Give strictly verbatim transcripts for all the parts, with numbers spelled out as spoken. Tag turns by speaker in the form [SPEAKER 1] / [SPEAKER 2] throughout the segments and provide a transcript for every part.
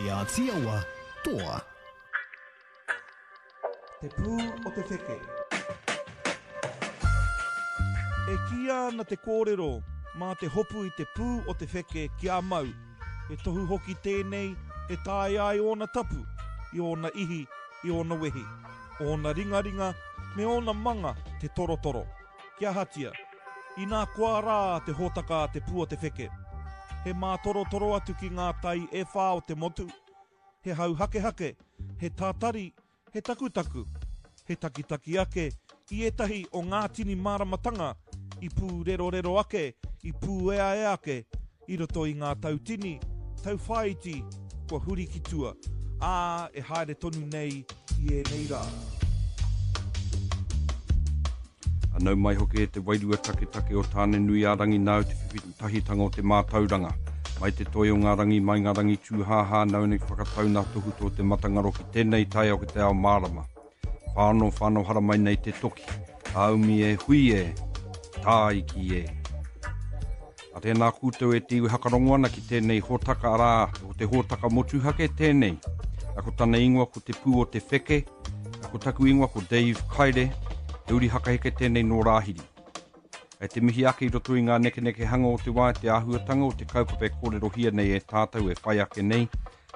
[SPEAKER 1] Te Ātiawa, toa.
[SPEAKER 2] Te pū o te wheke. E kīia ana te kōrero mā te hopu i te pū o te wheke kia mau, he tohu hoki tēnei e taea ai ōna tapu, i ōna ihi, i ōna wehi, ōna ringaringa me ōna manga te torotoro. Kia ahatia, inā koa rā te hōtaka a te pū o te wheke. He mātorotoro atu ki ngā tai e whā o te motu, he hau hakehake, he tātari, he takutaku, he takitaki ake i ētahi o ngā tini māramatanga i pūrerorero ake, i pūeaea ake i roto i ngā tau tini, tau whāiti kua huri ki tua, ā, e haere tonu nei i ēnei rā.
[SPEAKER 3] Nau mai hoki e te wairua taketake o Tāne-nui-ā-rangi nāu te whiwhitahitanga o te mātauranga. Mai te toi o ngā rangi, mai ngā rangi tūhāhā, nāu nei whakatau nā tohutohu te matangaro ki tēnei taiao ki te ao mārama. Whāno, whāno haramai nei te toki. Āumi e hui e, tāiki e. A tēnā koutou e te iwi hakarongo ana ki tēnei hōtaka arā, ko te hōtaka motuhake tēnei. A ko tana ingoa ko te pū o te wheke, a ko taku ingoa ko Dave Kaire, he uri hakaheke tēnei nō Rāhiri. E te mihi ake i roto i ngā nekenekehanga o te wā, te āhuatanga o te kaupapa e kōrerohia nei e tātou e whai ake nei,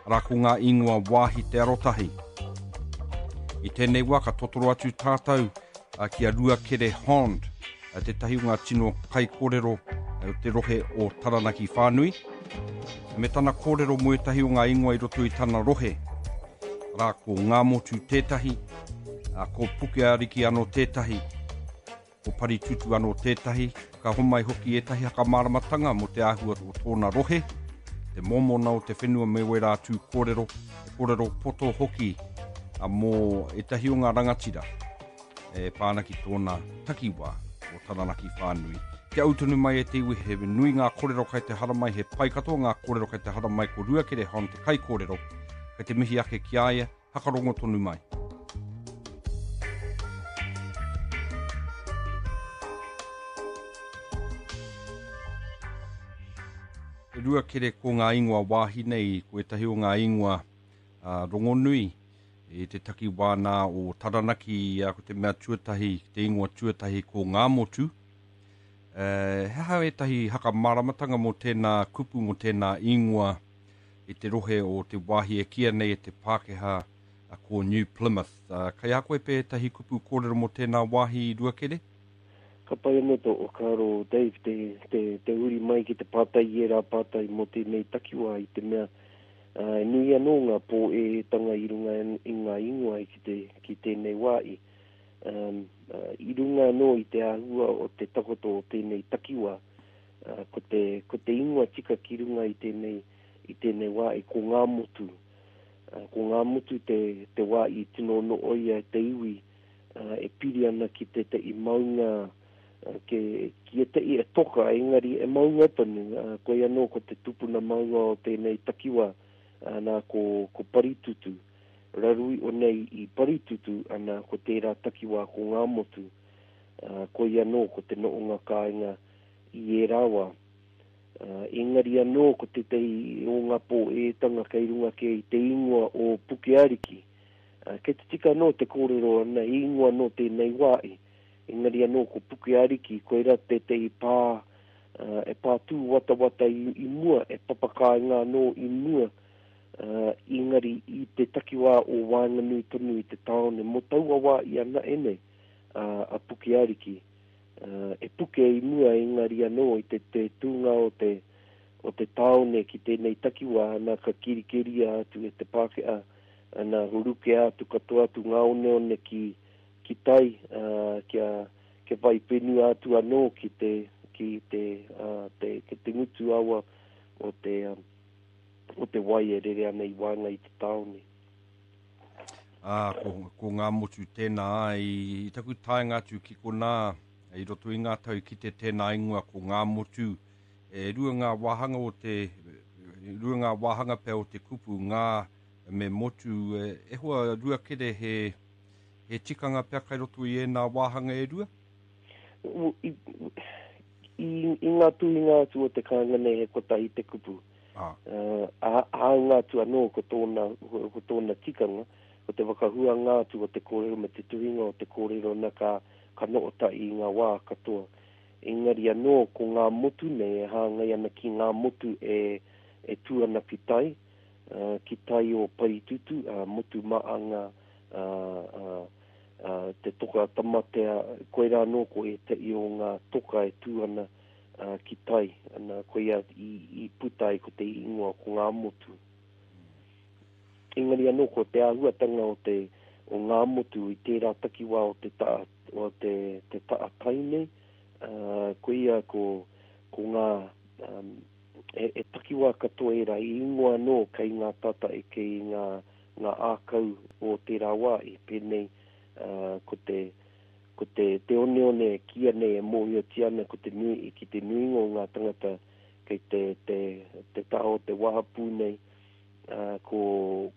[SPEAKER 3] arā ko ngā ingoa wāhi te arotahi. I tēnei wā ka totoro atu tātou ki a Ruakere Hond, tētahi o ngā tino kaikōrero o te rohe o Taranaki whānui, me tana kōrero mō ētahi o ngā ingoa i roto i tana rohe. Arā ko Ngāmotu tētahi, ko Pukeariki anō tētahi, ko Paritutu anō tētahi, ka homai hoki ētahi hakamāramatanga mō te āhua o tōna rohe, te mōmona o te whenua me wērā tū kōrero, e kōrero poto hoki mō ētahi o ngā rangatira e pā ana ki tōna takiwā o Taranaki whānui. Kia ū tonu mai e te iwi, he nui ngā kōrero kai te haramai, he pai katoa ngā kōrero kai te haramai, ko Ruakere Hond te kaikōrero, kai te mihi ake ki a ia, hakarongo tonu mai. Ruakere ko ngā ingoa wāhi nei, ko ētahi o ngā ingoa uh, rongonui i te takiwā nā o Taranaki, uh, ko te mea tuatahi, te ingoa tuatahi ko Ngāmotu. Uh, he aha ētahi hakamāramatanga mō tēnā kupu, mō tēnā ingoa i te rohe o te wāhi e kīia nei e te Pākehā uh, ko New Plymouth. Uh, kai a koe pē ētahi kupu kōrero mō tēnā wāhi Ruakere?
[SPEAKER 4] Ka pai anō tō whakaaro, Dave, te, te, te uri mai ki te pātai i ērā pātai mō tēnei takiwā i te mea uh, e nui anō ngā pōētanga i runga i ngā ingoa ki, te, ki tēnei wā i. Um, uh, i runga anō i te āhua o te takoto o tēnei takiwā, uh, ko, te, ko te ingoa tika ki runga i tēnei, i tēnei wā i ko Ngāmotu. Uh, ko Ngāmotu te, te wā i tino nooia te iwi uh, e piri ana ki tētahi maunga ke, ki ētahi e toka, engari e maunga tonu, uh, koe anō ko te tupuna maunga o tēnei takiwā, uh, nā ko, ko Paritutu. Rarui o nei i Paritutu, ana ko tērā takiwā ko Ngāmotu. Uh, koe anō ko te noonga kāinga i ērā wā. Uh, engari anō ko tētahi o ngā pōētanga kei runga ke i te ingoa o Pukeariki. Uh, kei te tika anō te kōrero ana i ingoa nō tēnei wā i. Engari anō ko Pukeariki, koira tētahi pā, uh, e pā tūwatawata i, i mua, e papakāinga anō i mua, uh, engari i te takiwā o waenganui tonu i te tāone, mō taua wā i ana e nei, uh, a Pukeariki. Uh, e puke i mua engari anō i te, te tūnga o te, o te tāone ki tēnei takiwā, ana ka kirikeria atu e te Pākehā, ana rukea atu katoa atu ngā oneone ki, ki tai, uh, kia, kia whai whenua atu anō ki te, ki te, uh, te, ki te ngutu awa o te, um, o te wai e rere ana i waenga i te tāone.
[SPEAKER 3] Ah, ko, ko Ngāmotu tēnā, i, i taku taenga atu ki konā, i roto i ngā tau ki te tēnā ingoa ko Ngāmotu, e rua ngā wāhanga o te, rua ngā wāhanga pea o te kupu, ngā me motu, e, e hoa Ruakere he, he tikanga pea kai roto i ēnā wāhanga e rua?
[SPEAKER 4] I, i, i ngā tuhinga atu o te kāinga nei he kotahi te kupu.
[SPEAKER 3] Ah.
[SPEAKER 4] Uh, hāunga atu anō ko tōna, ko tōna tikanga, ko te whakahuanga atu o te kōrero me te tuhinga o te kōrero na ka, ka no'ota i ngā wā katoa. Engari anō ko ngā motu nei e hāngai ana ki ngā motu e, e tū ana ki tai, uh, ki tai o Paritutu, uh, motu maanga, uh, uh, uh, te toka tamatea, koirā anō ko ētahi o ngā toka e tū ana uh, ki tai, ana koia i, i puta ai ko te ingoa ko ngā motu. Engari anō ko te āhuatanga o te o ngā motu i tērā takiwā o te ta'a, o te, te ta'a tai nei, uh, koia ko, ko ngā um, e, e takiwā katoa ērā i ingoa anō kei ngā tata e kei ngā, ngā ākau o tērā wā i pēnei uh, ko te ko te, te oneone e kīia nei e mōhiotia ana ko te nui, ki te nuinga o ngā tangata kei te, te, te taha o te wahapū nei, uh, ko,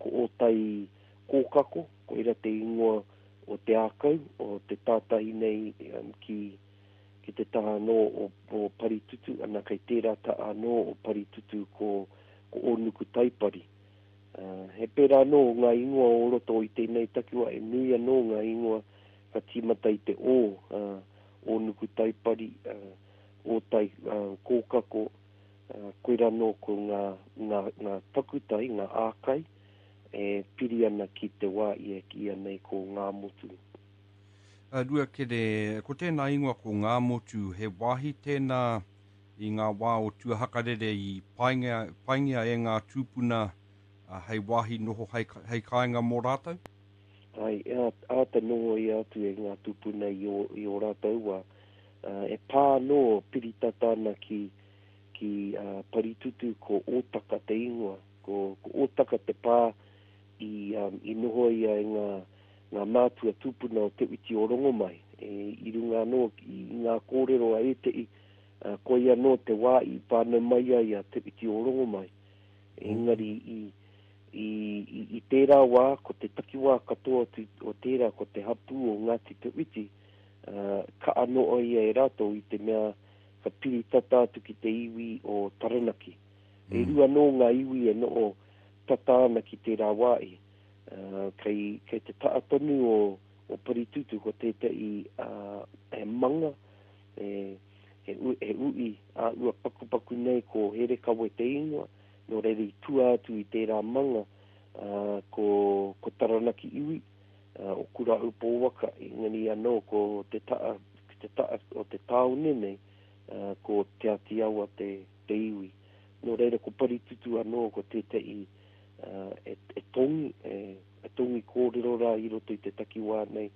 [SPEAKER 4] ko Ōtai Kōkako, koira te ingoa o te ākau, o te tātahi nei um, ki, ki te taha anō o, o Paritutu, ana kei tērā taha anō o Paritutu ko, ko Ōnuku Taipari. Uh, he pērā anō ngā ingoa o roto i tēnei takiwā, e nui anō ngā ingoa ka tīmata i te o, uh, Ōnuku Taipari, uh, Ōtai uh, Kōkako, uh, koira anō ko ngā, ngā, ngā takutai, ngā ākai, e piri ana ki te wā i e kīia nei ko ngā motu.
[SPEAKER 3] Uh, Ruakere, ko tēnā ingoa ko ngā motu, he wāhi tēnā i ngā wā o Tuahakarere i paingia, paingia e ngā tūpuna uh, hei wāhi noho hei, hei kāinga mō rātou?
[SPEAKER 4] Ai, āta noho i atu e ngā tūpuna i o, i o rātou wā. Uh, e pā anō piritata ana ki, ki uh, Paritutu ko Ōtaka te ingoa. Ko, ko Ōtaka te pā i, um, i noho ia e ngā, ngā mātua tūpuna o Te Whiti o Rongomai. E, i runga anō i ngā kōrero a ētehi, uh, koia anō te wā i whānau mai ai a Te Whiti o Rongomai. Engari i, i, i, i tērā wā, ko te takiwā katoa tu, o tērā, ko te hapū o Ngāti Te Whiti, uh, ka anō ia e rātou i te mea ka piri tata atu ki te iwi o Taranaki. Mm. E rua anō ngā iwi e noho tata ana ki tērā wā i. Uh, kei, kei te ta'a tonu o, o Paritutu ko tētahi uh, he manga, e, he, u, he ui a ua pakupaku nei ko Herekawe te ingoa, nō reira i tua atu i tērā manga uh, ko, ko Taranaki iwi, uh, o Kurahaupō waka, engari anō ko te ta'a, te ta'a o te tāone nei, uh, ko Te Āti Awa te, te iwi. Nō reira ko Paritutu anō ko tētahi uh, e, e tongi, e, e tongi kōrero rā i roto i te takiwā nei,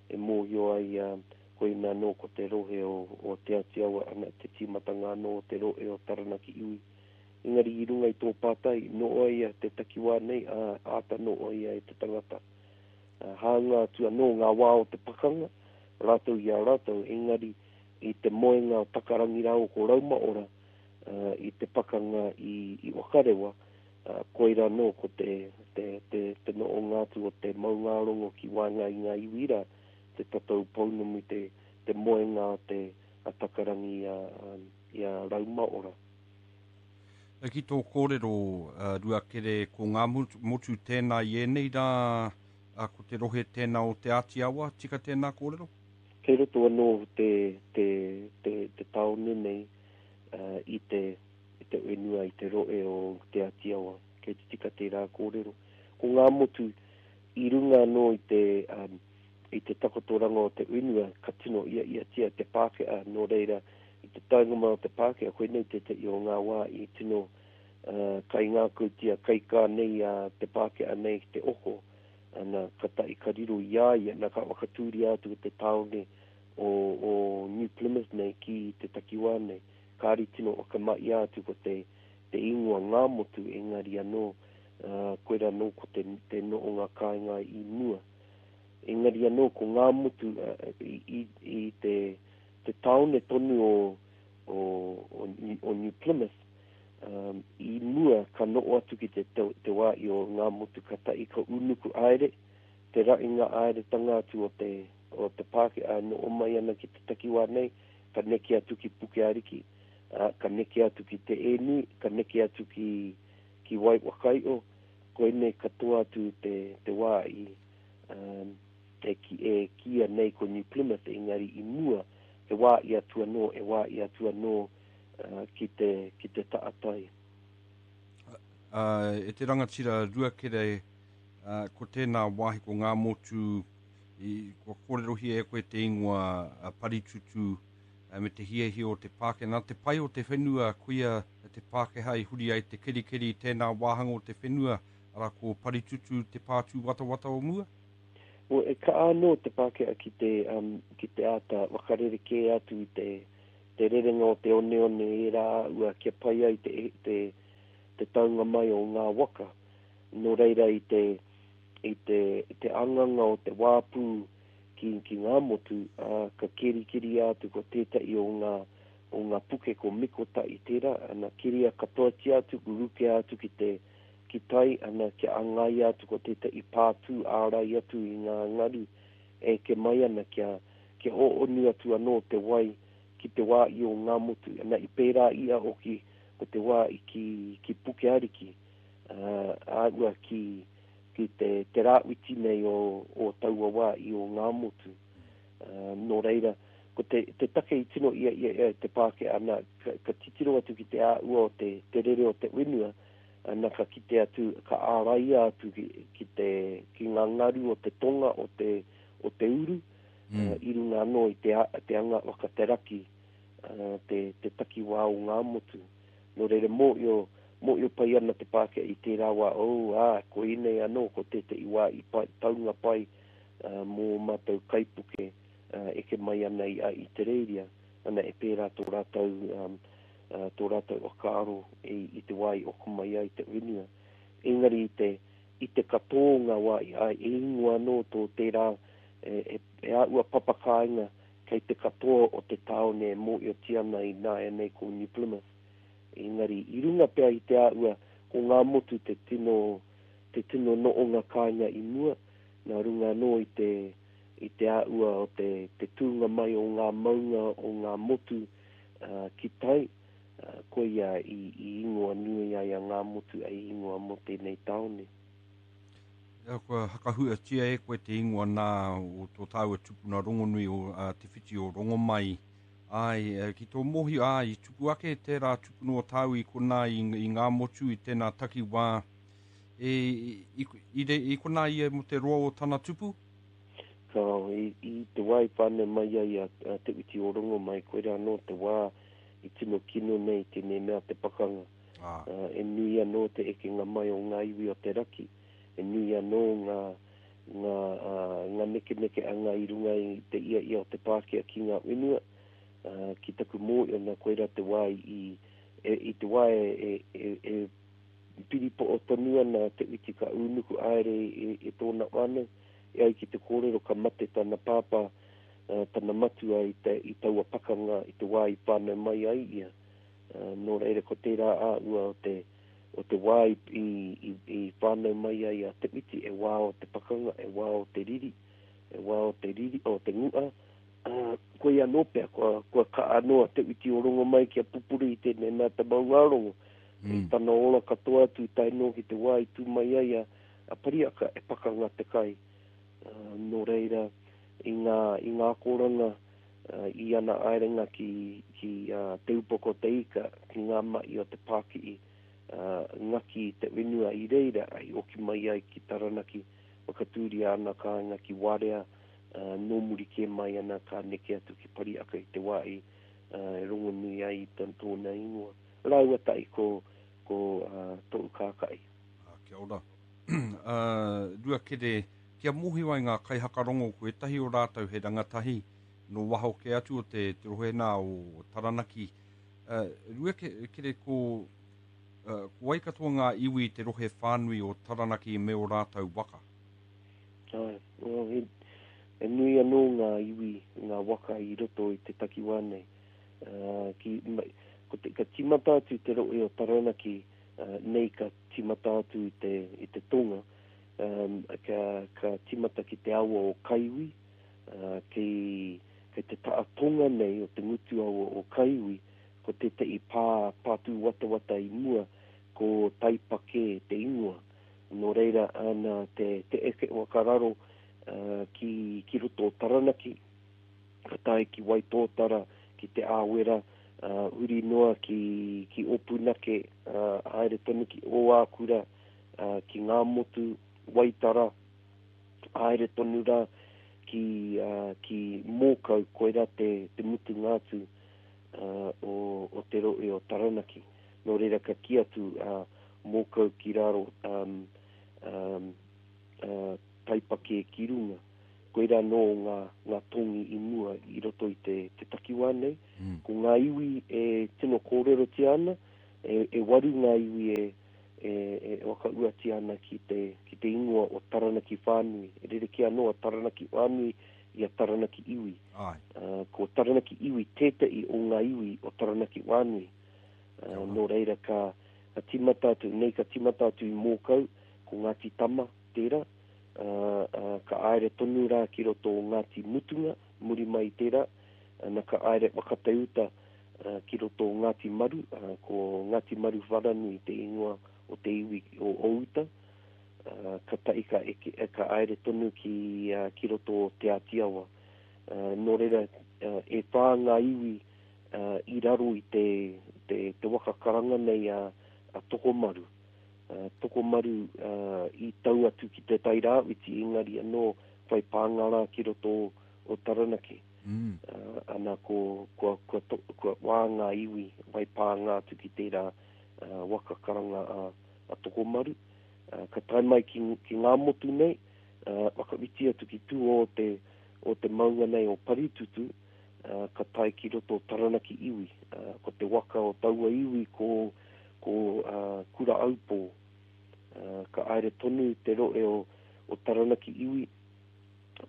[SPEAKER 4] e mōhio ai uh, koina anō ko te rohe o, o Te Āti Awa, ana te tīmatanga anō o te rohe o Taranaki iwi. Engari i runga i tō pātai, noho ia te takiwā nei, ā, āta noho ia e te tangata. Uh, hāunga atu anō ngā wā o te pakanga, rātou i a rātou, engari i te moenga o Takarangi rāua ko Raumaora, uh, i te pakanga i, i Wakarewa, uh, koira anō ko te, te, te, te nohonga atu o te maungārongo ki waenga i ngā iwi rā, te tatau pounamu, te, te moenga o te a Takarangi i a, um, i a Raumaora.
[SPEAKER 3] E ki tō kōrero, uh, Ruakere, ko ngā motu, motu tēnā i ēnei rā, uh, ko te rohe tēnā o Te Āti Awa, tika tēnā kōrero?
[SPEAKER 4] Kei roto anō te, te, te, te tāone nei uh, i te, i te whenua, i te rohe o Te Āti Awa. Kei te tika tērā kōrero. Ko ngā motu i runga anō i te, um, i te takotoranga o te whenua, ka tino ia iatia te Pākehā, nō reira i te taunga mai o te Pākehā, koinei tētahi o ngā wā i tino uh, kaingākautia, kaikā nei a te Pākehā nei ki te oko, ana ka tahi ka riro i a ia, na ka whakatūria atu te tāone o, o New Plymouth nei ki te takiwā nei. Kāri tino whakamahia atu ko te, te ingoa ngā motu, engari anō, uh, koira anō ko te, te nohonga kāinga i mua. Engari anō ko ngā motu uh, i, i, i te, te tāone tonu o, o, o, o New Plymouth, um, i mua ka noho atu ki te, te, te wā i o ngā motu ka tahi ka unuku aere, te rainga aeretanga atu o te, o te Pākehā noho mai ana ki te takiwā nei, ka neke atu ki Pukeariki, uh, ka neke atu ki Te Ēnui, ka neke atu ki, ki Waiwakaio, koinei katoa atu te, te wā i um, e, ki, e kia nei ko New Plymouth, engari i mua, e wā i atu anō, e wā i atu anō uh, ki te, ki te taatai.
[SPEAKER 3] Uh, e te rangatira Ruakere, uh, ko tēnā wāhi ko ngā motu, i, kua kōrerohia e koe te ingoa uh, Paritutu uh, me te hiahia o te Pākehā. Nā te pai o te whenua, koia te Pākehā i huri ai te kerikeri i tēnā wāhanga o te whenua, ara ko Paritutu te pātū watawata o mua?
[SPEAKER 4] Well, e ka anō te Pākehā ki te, um, ki te āta whakarerekē atu i te, te rerenga o te oneone e rā ua kia pai ai te, te, te taunga mai o ngā waka. Nō reira i te, i te, te anganga o te wāpū ki, ki ngā motu, uh, ka kerikeri atu ko tētahi o ngā, o ngā puke ko Mikota i tērā, ana keria katoatia atu, rukea atu ki te ki tai, ana kia angaia atu ko tētahi pātū ārai atu i ngā ngaru e ke mai ana kia, kia ho'onu atu anō te wai ki te wā i o ngā motu. Ana i pērā ia hoki ko te wā i ki, ki Puke Ariki, uh, āua ki, ki te, te rāwhiti nei o, o taua wā i o ngā motu. Uh, nō reira, ko te, te take i tino ia, ia, ia te Pākehā, ana, ka, ka titiro atu ki te āua o te, te rere o te whenua, ana ka kite atu, ka āraia atu ki, ki, te, ki ngā ngaru o te tonga o te, o te uru, mm. uh, i runga anō i te, te anga waka te raki, uh, te, te takiwā o ngā motu. Nō reira, mōio, mōio pai ana te Pākehā i tērā wā, oh, ā, ko inei anō, ko tētahi wā i pai, taunga pai uh, mō mātou kaipuke uh, eke mai ana i, i te reiria. Ana e pērā tō rātou, um, uh, tō rātou whakaaro i, i te wā i oko mai ai te whenua. Engari i te, i te katoa ngā wā, ai, e ingoa anō tō tērā e, e, e āua papakāinga kei te katoa o te tāone e mōiotia ana i nāianei ko New Plymouth. Engari, i runga pea i te āua, ko ngā motu te tino, te tino noonga kāinga i mua, nā runga anō i te, i te āua o te, te tūnga mai o ngā maunga o ngā motu uh, ki tai, uh, koia i, i ingoa nui ai a ngā motu ai ingoa mō tēnei tāone.
[SPEAKER 3] Ia, kua hakahuatia e koe te ingoa nā o tō tāua tupuna rongonui o uh, Te Whiti o Rongomai. Ai, ki tō mohi, ai, i tupu ake tērā tupuna o tāu i konā i, i ngā motu i tēnā takiwā. E, i, i, i, i konā ia mo te roa o tana tupu?
[SPEAKER 4] Ka, i, i te wā i whānau mai ai a, a Te Whiti o Rongomai, koirā anō te wā i tino kino nei tēnei mea te pakanga.
[SPEAKER 3] Ah.
[SPEAKER 4] Uh, e nui anō te ekenga mai o ngā iwi o te raki, e nui anō ngā, ngā, uh, ngā nekeneke anga i runga i te ia ia o te Pākehā ki ngā whenua. Uh, ki taku mōio nā koirā te wā i, e, i te wā e, e, e, e piripo'o tonu ana Te Whiti ka ūnuku aere e, e tōna whānau. E ai ki te kōrero ka mate tana pāpā, uh, tana matua i, te, i taua pakanga i te wā i whānau mai ai ia. Uh, nō reira ko tērā āua o te, o te wā i, i, i, i whānau mai ai a Te Whiti, e wā o te pakanga, e wā o te riri, e wā o te riri, o te ngua. Uh, koe anō pea, kua, kua ka anō a Te Whiti o Rongomai kia pupuri i tēnei mea te maungārongo.
[SPEAKER 3] Mm.
[SPEAKER 4] I tana ora katoa atu i tae noa ki te wā i tū mai ai a, a Pariaka e pakanga te kai. Uh, nō reira, i ngā, i ngā kōranga, uh, i ana aerenga ki, ki uh, Te Upoko Te Ika, ki ngā mahi o te pāki'i, uh, ngaki te whenua i reira, ai oki mai ai ki Taranaki, whakatūria ana kāinga ki Warea, uh, nō muri kē mai ana ka neke atu ki Pariaka i te wā i uh, e rongonui ai i tan tōna ingoa. Rāua tahi ko, ko uh, tōu kākai.
[SPEAKER 3] Ah, kia ora. uh, Ruakere, kia mōhio ai ngā kaihakarongo ko ētahi o rātou he rangatahi no waho ke atu o te, te rohe nā o Taranaki. Uh, Ruakere, ko, uh, ko wai katoa ngā iwi te rohe whānui o Taranaki me o rātou waka?
[SPEAKER 4] Ai, well, he, e nui anō ngā iwi, ngā waka i roto i te takiwā nei. Uh, ki, ma, ko te, ka timata atu te rohe o Taranaki, uh, nei ka timata atu i te, i te tonga, um, ka, ka timata ki te awa o Kaiwi, uh, ki, kei te taa tonga nei o te ngutu awa o Kaiwi, ko tētahi pā, pā tūwatawata i mua, ko Taipakē te ingoa. Nō reira, ana te, te eke wakararo uh, ki, ki roto o Taranaki, ka tae ki Waitōtara, ki Te Āwera, uh, huri noa ki, ki Opunake, uh, haere tonu ki Ōākura, uh, ki Ngāmotu, Waitara, haere tonu rā ki, uh, ki Mōkau, koirā te, te mutunga atu uh, o, o te rohe o Taranaki. Nō reira ka kī atu uh, Mōkau ki raro, um, um, uh, Taipakē ki runga. Koirā nō ngā, ngā tongi i mua i roto i te, te takiwā nei.
[SPEAKER 3] Mm.
[SPEAKER 4] Ko ngā iwi e tino kōrerotia ana, e, e waru ngā iwi e, e, e whakauatia ana ki te, ki te ingoa o Taranaki whānui. E rerekē anō a Taranaki whānui i a Taranaki iwi.
[SPEAKER 3] Ai.
[SPEAKER 4] Uh, ko Taranaki iwi tētahi o ngā iwi o Taranaki whānui. Uh, nō reira ka, ka tīmata atu, nei ka tīmata atu i Mōkau, ko Ngāti Tama tērā, uh, uh, ka aere tonu rā ki roto o Ngāti Mutunga, muri mai tērā, ana ka aere whakateuta uh, ki roto o Ngāti Maru, uh, ko Ngāti Maru Wharanui te ingoa o te iwi o Outa, uh, ka tahi ka, eke, ka aere tonu ki, uh, ki roto o Te Ātiawa. Uh, nō reira, uh, e whā ngā iwi uh, i raro i te, te, te waka karanga nei a, a Tokomaru. Uh, Tokomaru uh, i tau atu ki te Tairāwhiti, engari anō whai pānga rā ki roto o, o Taranaki.
[SPEAKER 3] Mm.
[SPEAKER 4] Uh, ana ko, kua, kua, to, kua wā ngā iwi whai pānga atu ki tērā uh, waka karanga a, a Tokomaru. Uh, ka tae mai ki, ki ngā motu nei, uh, whakawhiti atu ki tua o te, o te maunga nei o Paritutu, uh, ka tae ki roto o Taranaki iwi. Uh, ko te waka o taua iwi ko, ko uh, Kura Aupō. Uh, ka aere tonu te rohe o, o Taranaki iwi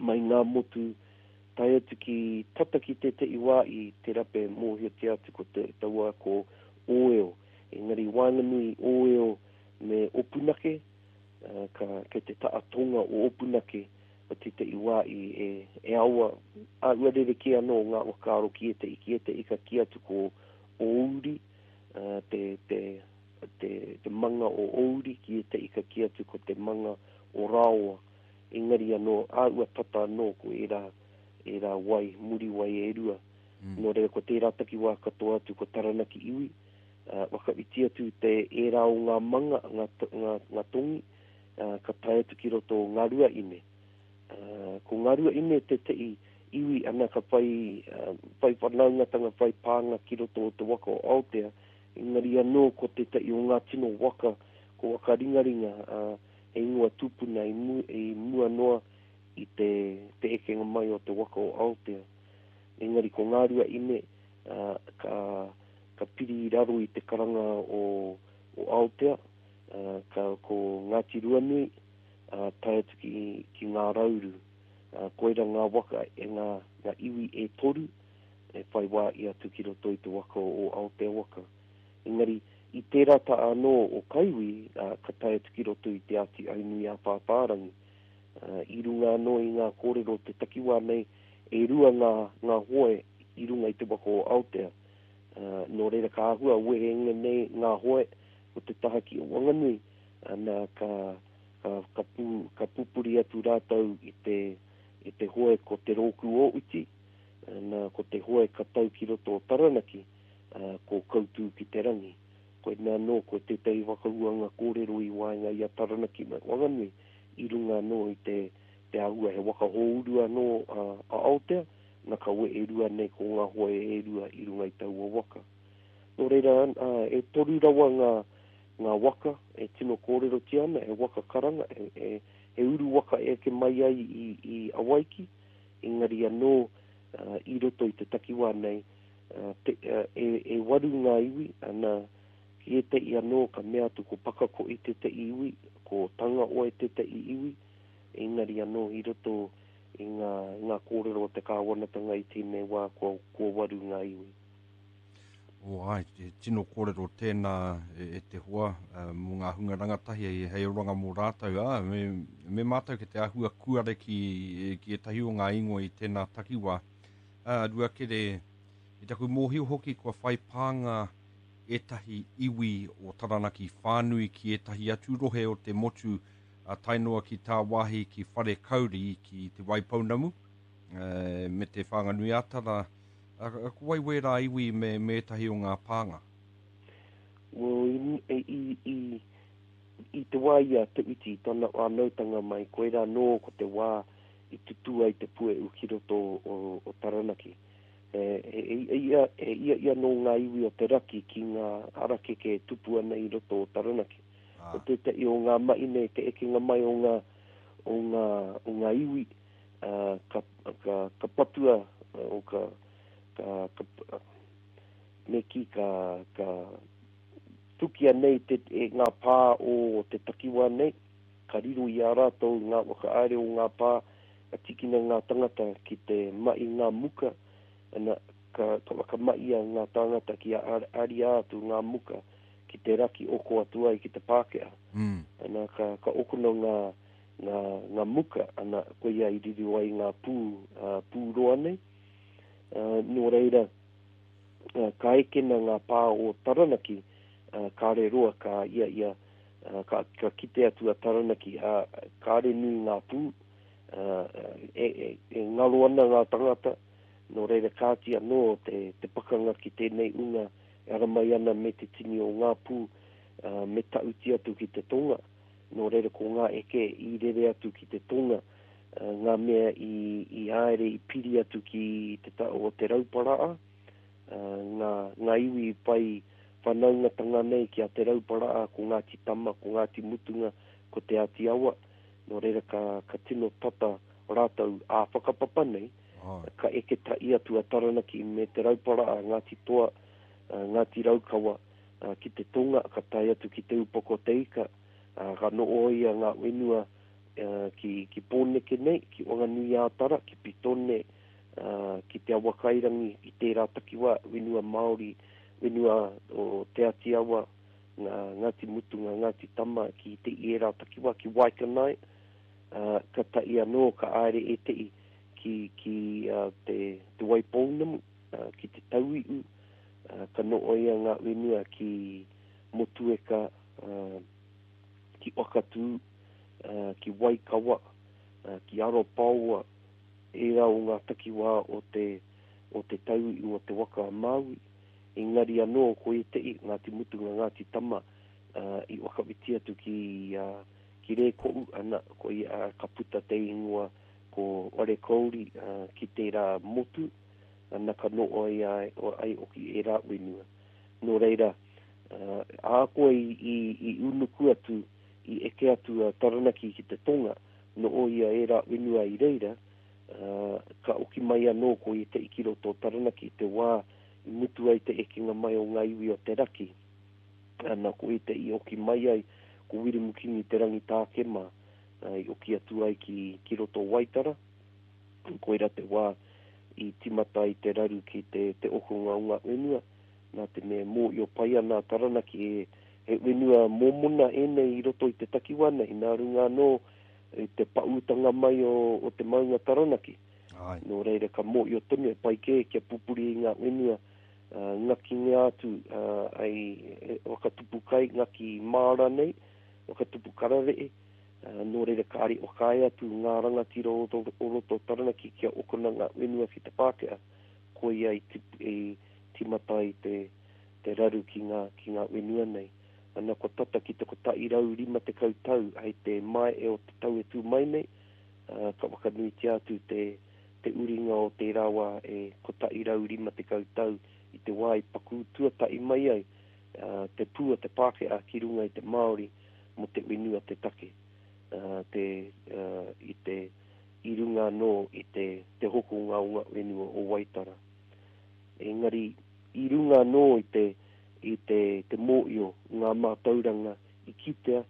[SPEAKER 4] mai ngā motu tae atu ki tata ki tētahi wā i te rape mōhiotia atu ko te taua ko Ōeo. Engari waenganui Ōeo me Opunake, uh, ka, kei te taha tonga o Opunake o tētahi wā i e, e awa, a ua rerekē anō ngā whakaaro ki ētahi, ki ētahi ka kī atu ko Ōuri, uh, te, te, te, te manga o Ōuri, ki ētahi ka kī atu ko te manga o Raoa. Engari anō, a ua tata anō ko ērā, ērā wai, muri wai e rua.
[SPEAKER 3] Mm.
[SPEAKER 4] Nō reira ko tērā takiwā katoa atu ko Taranaki iwi, uh, whakawhiti atu te ērā o ngā manga, ngā, ngā, ngā tongi, uh, ka tae atu ki roto o Ngā Ruaine. Uh, ko Ngā Ruaine tētahi iwi ana ka whai, uh, whai whanaungatanga, whai pānga ki roto o te waka o Aotea, engari anō ko tētahi o ngā tino waka, ko waka ringaringa, uh, he ingoa tūpuna i, mu, i mua noa i te, te ekenga mai o te waka o Aotea. Engari ko Ngā Ruaine, uh, ka, ka piri i raro i te karanga o, o Aotea, uh, ka, ko Ngāti Ruanui, uh, tae atu ki, ki Ngā Rauru. Uh, koira ngā waka e ngā, ngā iwi e toru, e whai wā i atu ki roto i te waka o Aotea waka. Engari, i tērā ta anō o Kaiwi, uh, ka tae atu ki roto i te Āti Aunui a Pāpārangi. Uh, i runga anō i ngā kōrero te takiwā nei, e rua ngā, ngā hoe i runga i te waka o Aotea. Uh, nō reira ka āhua wehenga nei ngā hoe o te taha ki o Wanganui, ana ka, ka, ka, pū, ka pupuri atu rātou i te, i te hoe ko te rōku o uti, ana ko te hoe ka tau ki roto o Taranaki, uh, ko Kautū ki te rangi. Koinā anō ko tētahi whakahuanga kōrero i waenga i a Taranaki me Wanganui, i runga anō i te, te āhua he waka hōuru anō a, a Aotea, na ka wehe rua nei ko ngā hoe e rua i runga i taua waka. Nō reira, uh, e toru rawa ngā, ngā waka e tino kōrerotia ana, e waka karanga, e, e, e uru waka e eke mai ai i, i Awaiki, engari anō uh, i roto i te takiwā nei, uh, te, uh, e, e waru ngā iwi, ana ki ētahi anō ka mea atu ko Pakako'i tētahi iwi, ko Tangaoe tētahi iwi, engari anō i roto i ngā, ngā kōrero o te kāwanatanga i tēnei wā kua, kua waru ngā iwi.
[SPEAKER 3] O ai, te tino kōrero tēnā e, e te hoa uh, mō ngā hunga rangatahi hei, hei oranga mō rātou. Ā, me, me mātou ki te āhua kuare ki, ki ētahi o ngā ingoa i tēnā takiwā. Uh, Ruakere, I taku mōhio hoki kua whai pānga ētahi iwi o Taranaki whānui ki ētahi atu rohe o te motu a tae noa ki tāwāhi ki Wharekauri ki Te Waipounamu e, me te Whanganui-a-Tara. Ko wai wērā iwi me, me ētahi o ngā pānga?
[SPEAKER 4] Well, i, i, i, i te wā i a Te Whiti, tana whānautanga mai, koirā nō ko te wā i tutū ai te puehu ki roto o, o Taranaki. E, e, e, ia, e ia ia nō ngā iwi o te raki ki ngā harakeke e tupu ana i roto o Taranaki.
[SPEAKER 3] Ah.
[SPEAKER 4] Ko tētahi o ngā mahi nei, te ekenga mai o ngā, o ngā, o ngā iwi, uh, ka, ka, ka patua, o ka, ka, ka, me ki ka, ka tukia nei te, e ngā pā o te takiwā nei, ka riro i a rātou ngā whakahaere o ngā pā, ka tikina ngā tangata ki te mahi ngā muka, ana, ka, ka whakamahia ngā tāngata ki a aria atu ngā muka ki te raki oko atu ai ki te Pākehā.
[SPEAKER 3] Mm.
[SPEAKER 4] Ana, ka, ka okona ngā, ngā, ngā muka, ana, koia i riro ai ngā pū, uh, pūroa nei. Uh, nō reira, uh, ka ekena ngā pā o Taranaki, uh, kāre roa ka ia ia, uh, ka, ka kite atu a Taranaki, uh, kāre nui ngā pū, uh, e, e, e ngaro ana ngā tangata, nō reira kāti anō te, te pakanga ki tēnei unga e ara mai ana me te tini o ngā pū, uh, me tauti atu ki te tonga, nō reira ko ngā eke i rere atu ki te tonga, uh, ngā mea i, i haere i piri atu ki te ta o Te Rauparaa, uh, ngā, ngā iwi whai whanaungatanga nei ki a Te Rauparaa, ko Ngāti Tama, ko Ngāti Mutunga, ko Te Āti Awa, nō reira ka, ka tino tata rātou ā whakapapa nei,
[SPEAKER 3] Ah.
[SPEAKER 4] ka eke tahi atu a Taranaki me Te Rauparaa, Ngāti Toa, uh, Ngāti Raukawa, uh, ki te tonga, ka tae atu ki Te Upoko Te Ika, uh, ka nooia ngā whenua uh, ki, ki Pōneke nei, ki Whanganui-ā-Tara, ki Pitone, uh, ki Te Awakairangi, i tērā takiwā, whenua Māori, whenua o Te Āti Awa, ngā, Ngāti Mutunga, Ngāti Tama, ki te ērā takiwā, ki Waikanae, uh, ka tahi anō, ka haere ētehi ki, ki uh, te, te Waipounamu, uh, ki te Tauihu, uh, ka nooia ngā whenua ki Motueka, uh, ki Wakatū, uh, ki Waikawa, uh, ki Arapaoa, ērā o ngā takiwā o te, o te Tauihu o te Waka a Māui. Engari anō ko ētehi, Ngāti Mutunga, Ngāti Tama, uh, i whakawhiti atu ki, uh, ki Rēkohu, ana, ko ia, uh, ka puta te ingoa ko Wharekauri, uh, ki tērā motu, ana ka nooia ai, ai oki ērā whenua. Nō reira, uh, ahakoa i, i, i unuku atu, i eke atu a Taranaki ki te tonga, nooia ērā whenua i reira, uh, ka oki mai anō ko ētehi ki roto o Taranaki te wā i mutu ai te ekenga mai o ngā iwi o te raki. Ana ko ētehi oki mai ai, ko Wiremu Kingi Te Rangitāke mā, uh, i oki atu ai ki, ki roto Waitara. Koira te wā i timata i te raru ki te, te okonga o ngā whenua. Nā te mea mōhio pai ana a Taranaki e, he whenua mōmona ēnei i roto i te takiwā nei, nā runga anō i te paūtanga mai o, o te maunga Taranaki.
[SPEAKER 3] Ai.
[SPEAKER 4] Nō reira ka mōhio tonu e pai kē kia pupuri i ngā whenua, uh, ngakingia atu, uh, ai e, whakatupu kai, ngaki māra nei, whakatupu kararehe, uh, nō reira kāre whakaae atu ngā rangatira o roto, o roto Taranaki kia okona ngā whenua ki te Pākehā, koia i, tip, i timata i te, te raru ki ngā, ki ngā whenua nei. Ana kua tata ki te kotahi rau rima tekau tau hei te mae o te tau e tū mai nei, uh, ka whakanuitia atu te, te uringa o tērā wā e kotahi rau rima tekau tau i te wā i paku tuatahi mai ai, uh, te pū o te Pākehā ki runga i te Māori mō te whenua te take, uh, te, uh, i te, i runga anō i te, te hokonga o ngā whenua o Waitara. Engari, i runga anō i te, i te, te mōhio, ngā mātauranga i kitea,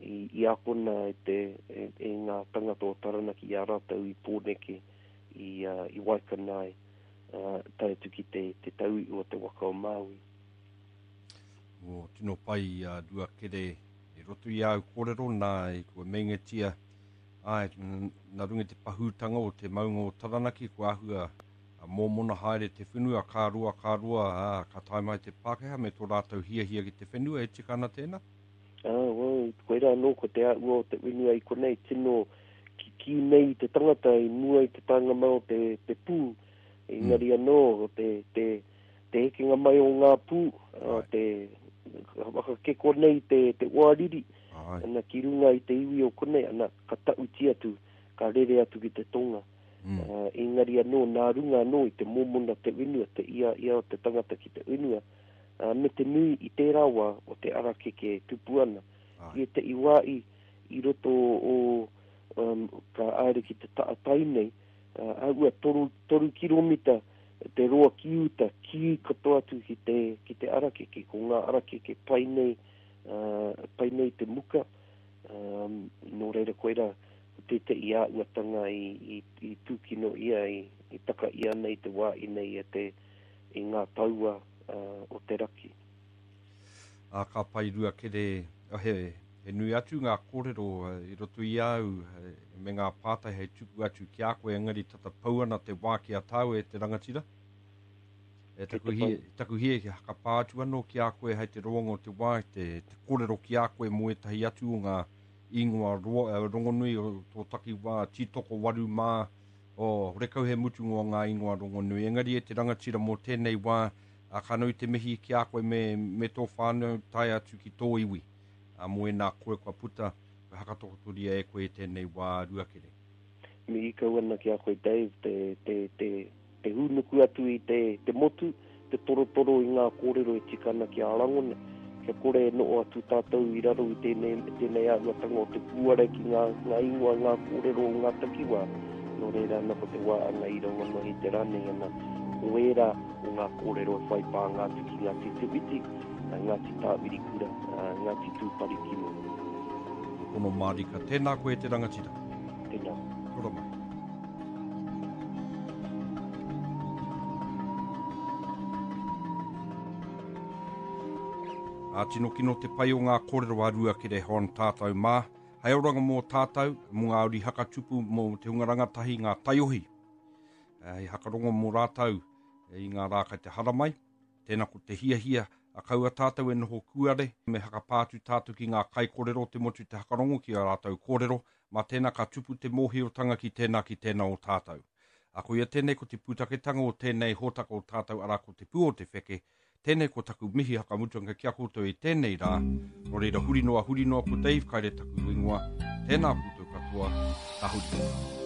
[SPEAKER 4] i, i akona e, te, e, e ngā tangata o Taranaki i a rātou i Pōneke, i, uh, i Waikanae, uh, tae atu ki te, te Tauihu o te Waka o Māui.
[SPEAKER 3] O, tino pai a uh, Ruakere i roto i au kōrero nā i kua meingatia, ai, nā runga i te pahūtanga o te maunga o Taranaki, kua āhua Mōmona haere te whenua, ka roa, ka roa, ā, ka tae mai te Pākehā me tō rātou hiahia ki te whenua, e tika ana tēnā?
[SPEAKER 4] Ā, well, koirā anō ko te āhua o te whenua i konei, tino kikī nei te tangata i mua i te taenga mai o te, te pū, engari mm. anō, te, te, te hekenga mai o ngā pū, uh, te whakakeko nei te, te oariri, ana ki runga i te iwi o konei, ana ka tauti atu, ka rere atu ki te tonga. Mm. Uh, engari anō, nā runga anō i te mōmona te whenua, te ia ia o te tangata ki te whenua, uh, me te nui i tērā wā o te arakeke e tupu ana. I te iwā i, i roto o, um, ka aere ki te taatai nei, uh, aua toru, toru kiromita te roa ki uta, ki katoa atu ki te, ki te arakeke, ko ngā arakeke pai nei, uh, pai nei te muka, um, nō reira koira, tētehi āhuatanga i, i, i tūkino ia, i, i taka ia nei te wā i nei e te, i ngā taua uh, o te raki.
[SPEAKER 3] Ā, ka pai rua kere, he, he nui atu ngā kōrero i roto i au me ngā pātai hei tuku atu ki a koe, engari tata pau ana te wā ki a tāu e te rangatira. E taku hie, taku hie ki hakapā atu anō ki a koe hei te roanga o te wā, te, te kōrero ki a koe mō ētahi atu o ngā ingoa roa, rongonui o tō takiwā, Tītoko Waru mā, o horekau he mutunga o ngā ingoa rongonui. Engari e te rangatira mō tēnei wā, a, ka nui te mihi ki a koe me, me tō whānau tae atu ki tō iwi. A, mō ēnā koe kua puta, kua hakatokotoria e koe tēnei wā Ruakere.
[SPEAKER 4] Mihi kau ana ki a koe Dave, te, te, te, te hūnuku atu i te, te motu, te torotoro i ngā kōrero e tika ana ki a rangona, kia kore e noho atu tātou i raro i tēnei, tēnei āhuatanga o te kūare ki ngā, ngā ingoa, ngā kōrero o ngā takiwā. Nō reira ana ko te wā anga i rangona i te rānei ana, ko ērā o ngā kōrero e whai pānga atu ki Ngāti Te Whiti, Ngāti Tāwirikura, Ngāti Tūparikino.
[SPEAKER 3] Pono mārika, tēnā koe te rangatira.
[SPEAKER 4] Tēnā.
[SPEAKER 3] Ora mai. A tino kino te pai o ngā kōrero a Ruakere Hon tātou mā. Hei oranga mō tātou, mō ngā uri hakatupu, mō te hunga rangatahi ngā taiohi. Hei hakarongo mō rātou i ngā rā kai te haramai. Tēnā ko te hiahia, a kaua tātou e noho kūare, me hakapātu tātou ki ngā kaikōrero te motu te hakarongo ki a rātou kōrero, mā tēnā ka tupu te mōhiotanga ki tēnā ki tēnā o tātou. A koia tēnei ko te pūtaketanga o tēnei hōtaka o tātou arā ko te pū o te wheke, tēnei ko taku mihi hakamutunga ki a koutou i tēnei rā, nō reira huri noa huri noa ko Dave Kaire taku ingoa, tēnā koutou katoa, ka huri.